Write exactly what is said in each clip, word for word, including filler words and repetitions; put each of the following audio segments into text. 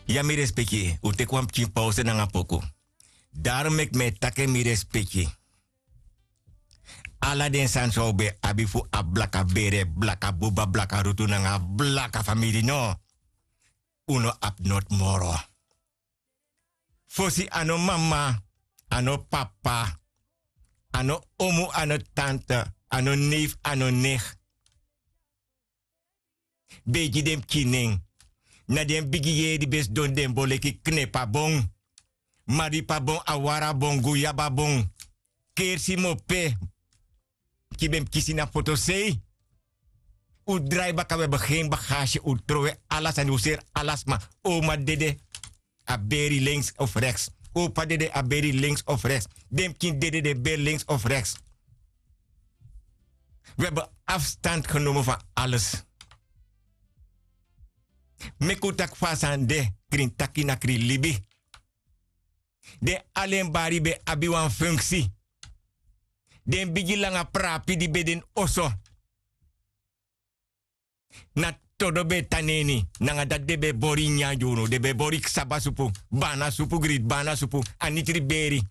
Ya mi respeki un teki wan pikin pause nanga poku. Daru meki mi e taki en mi respeki. Ala den sani san un ben abi fu a blaka bere blaka buba blaka rutu nanga blaka famiri no. Un no abi noti moro. Fosi a no mama, a no papa, a no omu, a no tante, a no neif, a no negi. Ben e gi den pikin nen. Na den bigi yeri ben sidon den bon leki knepabon, maripabon, awarabon, guyababon, kersi mope. Ki ben kisi na fotosei. Un drai baka we begin bagasi un trowe ala sani un seri ala sma. Oma dede a beri links of rechts. Opa dede a beri links of rechts. Den pikin dede den beri links of rechts. We ben afstand genomen van alles. Meki un taki fa a sani de. Krin taki na krin libi. Den alen bari ben abi wan funksi. Den bigi langa prapi di ben de ini oso. Na todo ben e tan na ini nanga dati den ben e bori nyanyan gi unu den ben e bori ksaba supu, bana supu grit bana supu, anitri beri.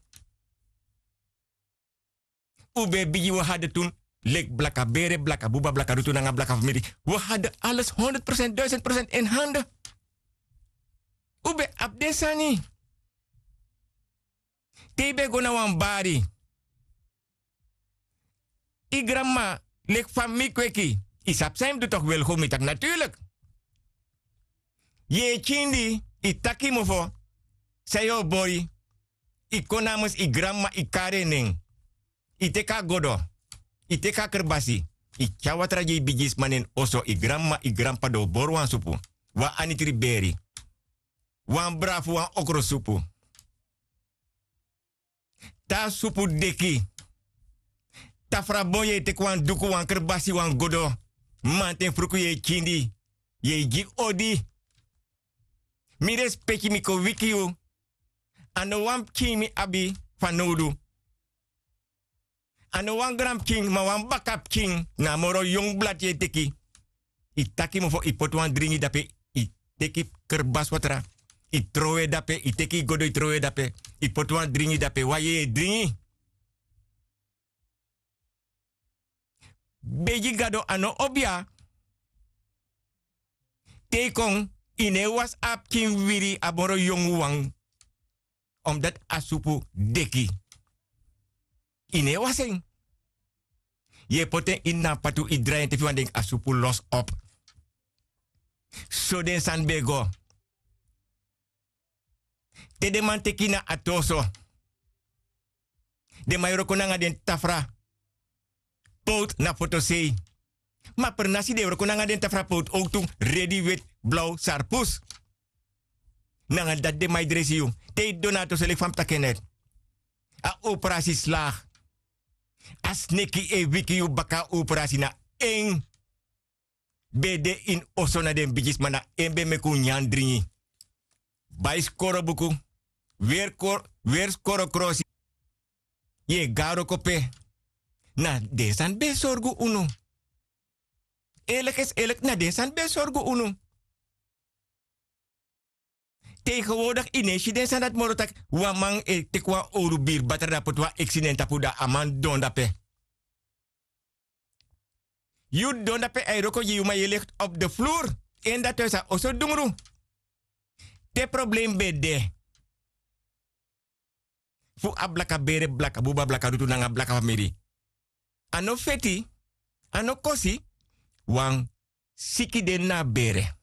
Un ben e bigi wi hade tun leki blaka bere blaka buba blaka rutu nanga blaka famiri. Wi hade ales honderd prosent duisend prosent en hande. Un ben abi den sani. Te yu ben go na wan bari, yu granmama leki fa mi kweki, yu sabi san yu mus du toki welgo mi taki naturlik. Yu e kindi, yu taki yu mofo san yu o bori. Yu kon na a mus yu granmama yu kari en nen. Yu teki a godo, yu teki a kerbasi, yu tyari watra gi yu bigisma na en oso yu granmama yu granpapa den o bori wan supu, wan anitri beri, wan brafu wan okrosupu. Te a supu deki, tafrabon yu e teki wan duku wan kerbasi wan godo, manten fruku yu e kindi, yu e gi odi. Mi respeki mi kon wiki yu. A no wan pikin mi abi fanowdu. A no wan granpikin ma wan bakapikin na a moro yongu blati yu e teki. Yu taki mofo yu poti wan dringi dape, yu teki kerbaswatra, yu trowe dape yu teki yu godo yu trowe dape, yu poti wan dringi dape wan yeye dringi. Begi gado a no obi ya. Te yu kon, yu no e wasi a pikin wiri a moro yongu wan. Omdati a supu deki. Yu no e wasi en. Yu e poti en ini na a patu yu drai en te fu yu wani denki a supu losi op. So den sani ben e go. Te den man teki yu na ati oso, den man e wroko nanga den tafra powtu na fotosei. Ma pernasi den e wroko nanga den tafra powtu owtu, redi weti blaw sarpus. Nanga dati den man e dresi yu. Te yu didon na ati oso leki fa mi taki en neti, a operasi slagi. A sneki e wiki yu baka a operasi na en. Ben de ini oso na den bigisma na en ben meki un nyan dringi. Bai skoro buku, weri skoro krosi. Yu e go na wroko pe? Na den sani ben e sorgu unu. Elek esi elek na den sani ben e sorgu unu. Tegenwodik yu no e si den sani dati moro tak' wan man e teki wan owru biri batra dan poti wan eksi na en tapu dan a man didon dape. Yu didon dape a e wroko gi yu ma yu e legi op de flur. En dati a e sa oso dungru. Te problem ben de fu a blaka bere blaka buba blaka rutu nanga blaka famiri. A no feti, a no kosi. Wan siki de ini a bere.